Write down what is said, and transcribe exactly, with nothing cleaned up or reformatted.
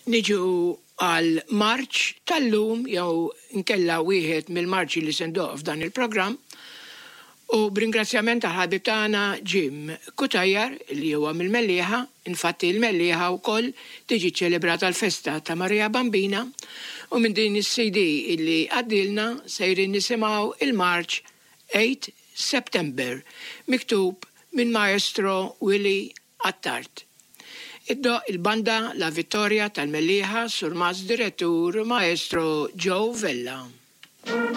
Niġu għal marċ tal-lum jew nkella wieħed mill-marċi li se ndoqq f'dan il-programm u b'ringrazzjament ta' ħabib tagħna Jim Cutajar li huwa mill-Mellieħa, infatti l-Mellieħa wkoll tiġi ċelebrata l-festa ta' Maria Bambina u minn din is-CD illi għaddilna sejrin nisimgħu il-marċ eight September miktub minn Maestro Willie Attard. Iddoqq il-banda La Vittoria tal-Mellieħa, Surmast Direttur Maestro Joe Vella.